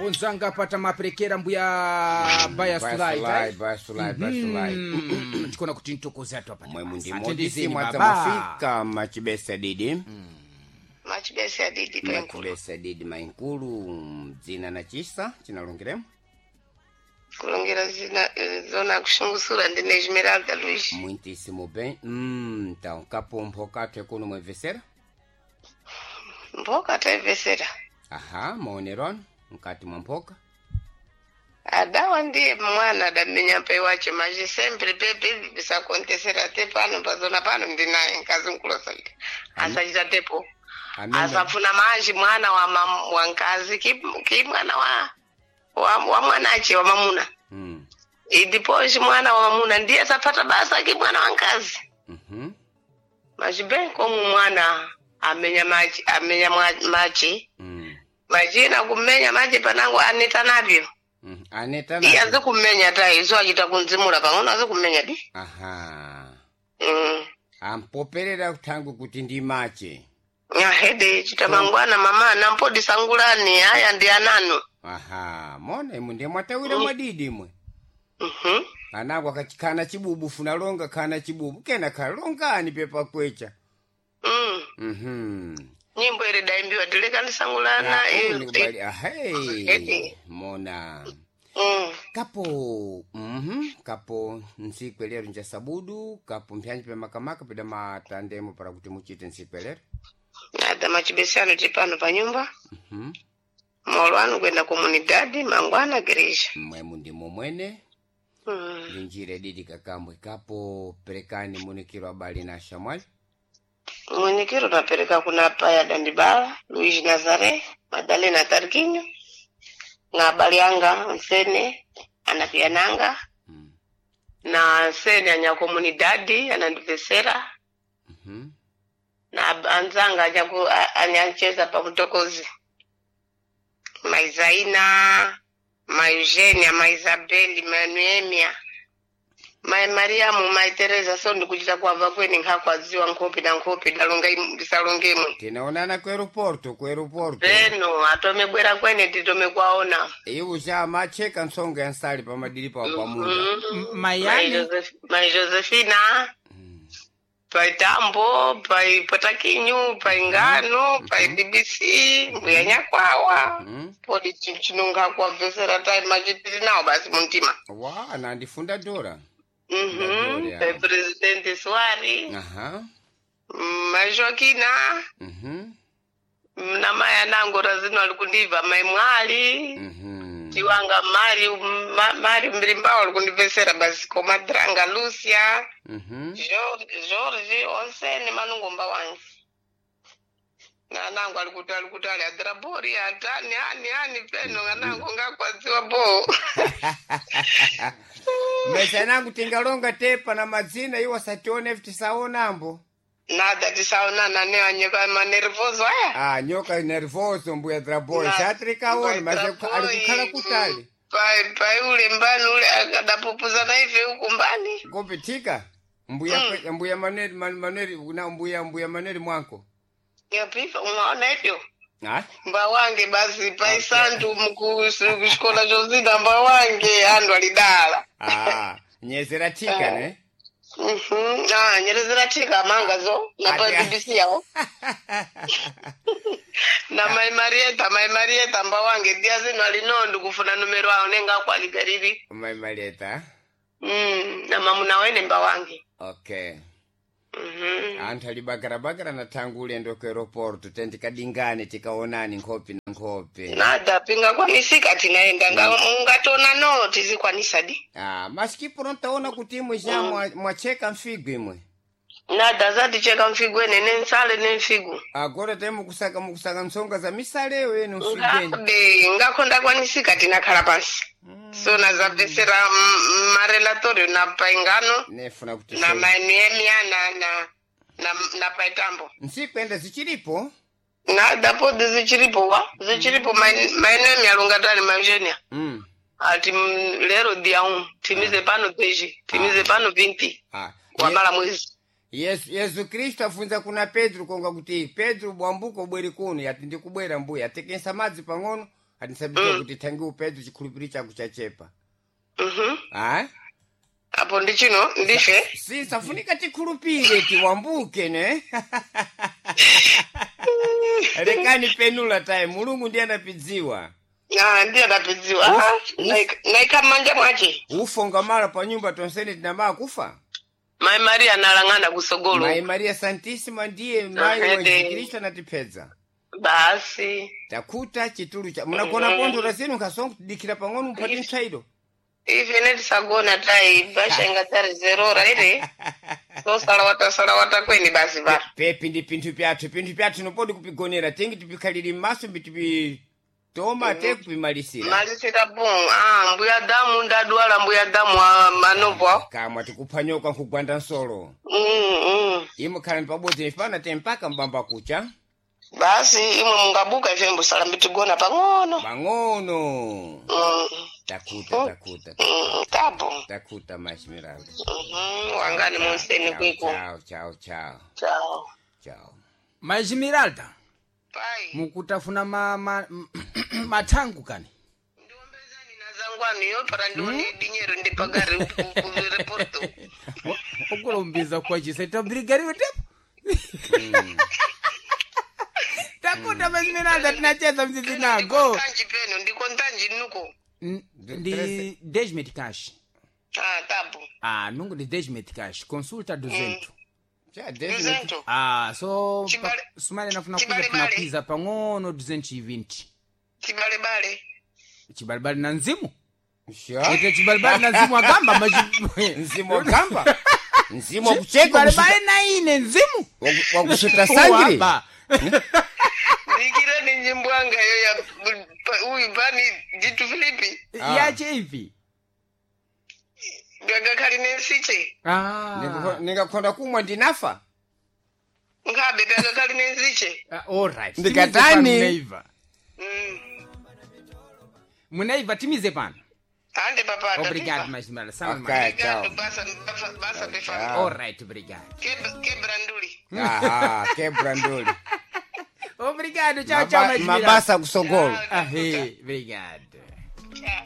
Kaponzanga pata maperekera mbuya baya sulai. Basulai, basulai, basulai. Tikona kuti ntokoze atu apa. Mwe mundi Atendezeni modisi mwadza baba. mafika machibesa didi. Machibesa didi penkulu. Machibesa didi mainkulu dzina na chisa chinalongiremo. Kulongera zina zona kushungusura ndine Esmeralda Luiz. Muitíssimo bem. Então, kapo mphoka athu kuno mwemvesera. Mboka taivesera. Aha, maonero anu mkati mwa mphoka. Adawa ndiye mwana adamenya pai wacho maji sempre pepe bisakontesera te pano pazona pano ndinaye nkazi nkulosalika. Asachita tepo. Amene Asafuna maji mwana wa mam, wa nkazi ki mwana wa mwanache wa mamuna. Idiposhi mwana wa mamuna ndiye asapata basa ki mwana wa nkazi. Maji komu mwana amenya maji amenya maji majina kumenya maji panango aneta navyo. Aneta Iye nazo. azi kumenya ta iso achita kunzimula pang'ono azi kumenya di. Aha. Ampoperera kuthangu kuti ndi mache. Ahede chita mangwana mama nampodi sangulani aya ndi ananu. Aha, mona imwe ndiye mwatawira mwadidi imwe. Anako akachikhana chibubu funalonga khana chibubu kena khalongani pepa kwecha. Nyimbo ile daimbiwa tilekani sangulana. Ah, nikubali. Edi. Ahei. Mona. Kapo kapo ntsiku lero nja sabudu kapo mpyanji pe makamaka pida matandemo para kuti muchite ntsiku lero. Ada machibesano tipano pa nyumba. Molo anu kwenda komunidadi mangwana gereja. Mwemu ndimo mwene. Ndi njira ididi kakambwe kapo perekani munikiro abali na shamwali. Mwenyekero napereka kuna paya Dandibala, Luigi Nazare, Madalena Tarquinho, na abali anga Nsene anapiananga na Nsene anya komunidadi anandivesera na anzanga anyancheza pa mtokozi Maizaina, Maeugenia, Maisabeli, Manuemia, Mai Mariamu, Mai Teresa so ndikuchita kwabva kweni nkakwaziwa nkhopi na nkhopi dalonga ndisalonge imwe. Tinaonana ku aeroporto ku aeroporto. Peno atomebwera kwene titome kwaona. Iwo cha macheka ntsonga ya nsali pamadiri pawo pamunda. Mayani Mai Josefina, pai Tambo, pai Potakinyu, pai Ngano, pai BBC, mbuya Nyakwawa. Podi chinonga kwabvesera tai machitiri nawo basi muntima. Wa nandifunda dora. Dora. Pai Presidente Suari, Aha. Mai Joaquina, na mai anango razino ali kundibva mai Mwali. Tiwanga mari mari mbirimbawo ali kundibvesera basi komadrang Lucia. George onsene manungomba wangu nanangu alikuti ali adrabori atani ani ani peno nganangu ngakwadziwa bo. Mesa nangu tingalonga tepa na madzina iwo satione tisaonambo. Nada tisaonana ne anyeka manervoso aya. Ah, nyoka nervoso mbuya draboi. Na- Satrikaona mbuya mase Draboi, alikukhala kutali. Pai pai ule mbani ule akadapupuzana ife huku mbani. Kupitika. Mbuya mbuya Manuel Manuel na mbuya Manuel mwanko. Yapifa unaona hivyo Ah? mba wange basi pai santu mkushikola chozina mba wange andu alidala. Ah, nyezera tika ne? Ah, nyerezera tika manga zo na pa Ati- BBC yawo na mai Marieta mai Marieta mba wange dia zino alinondo kufuna numero awo nenga kwaligariri. Mai Marieta. Na mamuna wene mba wange. Okay. Anthu ali bagarabagara na thangu ulendo ku aeroporto tendikadingane tikaonani nkhope na nkhope. Nada pinga kwanisika tinaenda ungatona no tizikwanisa di. Ah, masikipo ntaona kuti imwe ja mwacheka mfigo imwe. Nada zaticheka mfigu ene nensale nemfigu. Agora te mukusaka ntsonga za misaleyo enu mfigweni. Ngabe ngakonda kwanisika tinakhala pansi. So nazabvesera marelatorio na paingano Nefuna kuti na mainuemia na paitambo. nsikwenda zichilipo. Nada podi zichiripo wa zichiripo mainuemia lungatani maeugenia. Ati lero dia 1 timize pano 10 timize pano 20 Ah. wamala mwezi. Yesu Kristu afunza kuna Petro konga kuti Petro bwambuko bweri kuno yati ndikubwera mbuya atekensa madzi pang'ono. atisabiwa kuti thangi upedzo chikhulupiriro chako chachepa. Mhm. Ah? Apo ndi chino ndife. Si safunika tikhulupire tiwambuke ne. Lekani penula tayi Mulungu ndiye anapidziwa. Ah, ndiye adapidziwa. Ah, naika mmanja mwache. Ufonga mala pa nyumba tonsene tinamaya kufa. Mai Maria analang'ana kusogolo. Mai Maria Santissima ndiye mai wa Ahede. Yesu Kristu anatipedza. Basi. Takuta chitulu cha munagona kondora zenu nkasonga kudikira pang'ono mupate mtsairo. Ife netisagona tayi basha ingatari zerora ere. So salawata salawata kweni basi ba. Pepi ndi pinthu pyathu pinthu pyathu nopodi kupigonera tingi tipikhalire m'maso mbitipitoma te kupimalisira. Malisira bon. Ah, mbuya damu ndadwala mbuya damu ah, manovo. Kamwa tikuphanyoka nkugwanda nsolo. Mm, mm. Imwe khalani pabodzi nifana te mpaka mbamba kucha. Basi imwe mungabuka ife mbusala mbitigona pang'ono. Pang'ono. Mm. Takuta takuta Mm, tapo. takuta mashimiralo. Mhm, wangani munseni kwiko. Chao chao chao Chao. chao. Majimiralda Pai. mukutafuna mathangu kani. Ndiombezani na zangwanu yo para ndione dinyero ndipagari reporto. Okulombiza kwachisa tabirigariwe tepo. Takuta Majimiralda tinacheza mzizi nago. Ndikontanji peno ndikontanji nuko. Ndi 10 meticais. Ah, tapo. Ah, nungo de 10 meticais. Consulta 200. Cha definitely. 200. Ah, so Chibale- sumale nafuna kuza Chibalebale. tunapiza pang'ono 220. Chibalebale. Chibalibali na nzimu. Sure. Ete chibalibali na nzimu agamba Mzimu wagamba. Mzimu wakucheka Chibalibali na ine nzimu. wakusuta sangiri. Waba. Ndikira ni nyimbo anga yo ya uyu pani Jitu Filipi. Ah. Yache ivi. Gagakhali nensiche. Ah. Ningakhonda kumwa ndinafa. Ngabe gagakhali nensiche. Ah, all right. Ndikatani. Timize pano munaiva. Mm. Munaiva timize pano. Ande papa. Obrigado, Majimiralda. Sama Ok. okay. Ciao. Obrigado, basa basa basa pefa. Ciao. All right, obrigado. Quebranduli. Aha, kebrandoli. Obrigado, tchau, tchau, Majimiralda. Mabasa kusogolo. Ah, hey, obrigado. Ciao.